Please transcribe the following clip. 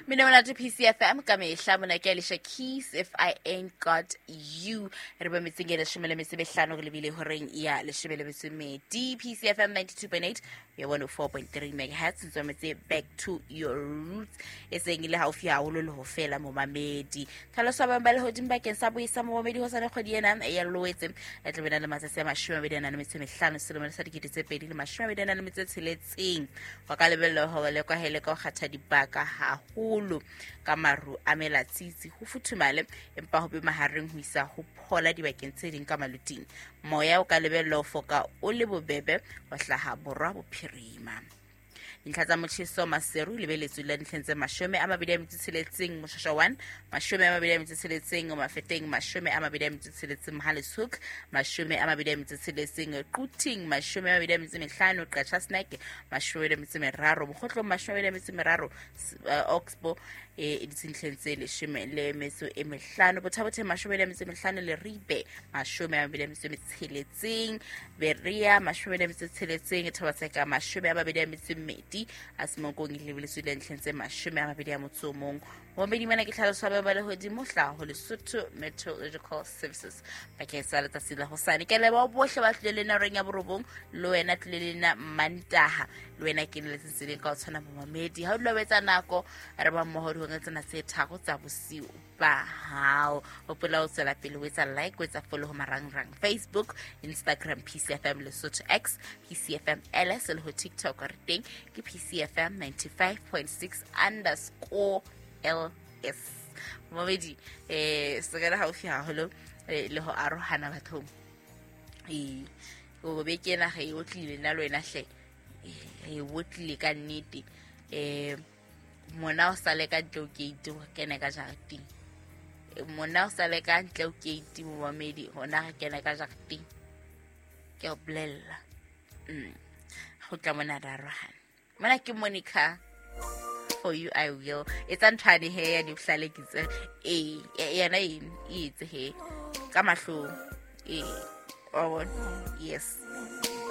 Mmino monate PCFM ka mehla. Mona ke Alicia Keys, If I Ain't Got You. Re ba metseng e 15 re lebile horeng ya 12. PCFM 92.8 ya 104.3 megahertz. Ntse metse back to your roots, e seng e le haufi haholo le ho fela, momamedi. Tlhaloso ya ba lehodimo bakeng sa boisa, momamedi, ho sane kgwedi ena ya Loetse e tla bena le matsatsi a 25 selemo sa 2026. Wa ka lebella hore le kwahele ka ho kgatha dibaka haholo ka maru a melatsitsi, ho futhumale, empa ho be mahareng ho isa ho phola dibakeng tse ding ka maluting. Moya o ka lebella ho foka o le bobebe ho hlaha borwa bophirima. Dintlha tsa motjheso: Maseru lebeletswe la dintlheng tse 26, Moshasha 1 26, Mafeteng 26, Mohale's Hoek 26, Quthing 25, Qacha Snek 23, Mokhotlong 23, Oxbow e ditsintlheng tse 15, Botha-Bothe 25, Leribe 26, Berea 26, Thaba-Tseka 22, a Semonkong e lebeletswe le ntlheng tse 21. Momedi, mona ke tlhaloso ya ba lehodimo hlaho Lesotho Meteorological Services bakeng sa letsatsi la hosane. Ke leboha bohle ba tlile le nna horeng ya 9, le wena tlile le nna Mantaha, le wena ke le letsatsing ka o tshwana. Momamedi, ha o dula o etsa nako, re ba mmoho dihoreng tsena tse 3 tsa bosiu ba hao. Hopola o tswela pele o etsa like, o etsa follow ho marangrang: Facebook, Instagram PCFM Lesotho, X PCFM LS, le ho TikTok re teng ke PCFM 95.6_LS. Momedi, se ka le haufi haholo le ho arohana bathong. Ee, o beke ena re e otlile nna le wena hle. Re e otlile ka nnete. Mona o sale ka ntle o gate, o kene ka jareteng. Mona o sale ka ntle o gate, momamedi, hona re kene ka jareteng, ke o bolella. Go tla mona re arohana. Mona ke Monica, For You I Will. Etsa nthwane he ya dibohlale ke tse ee yena eng e etse he ka mahlong ee wa bona. Yes.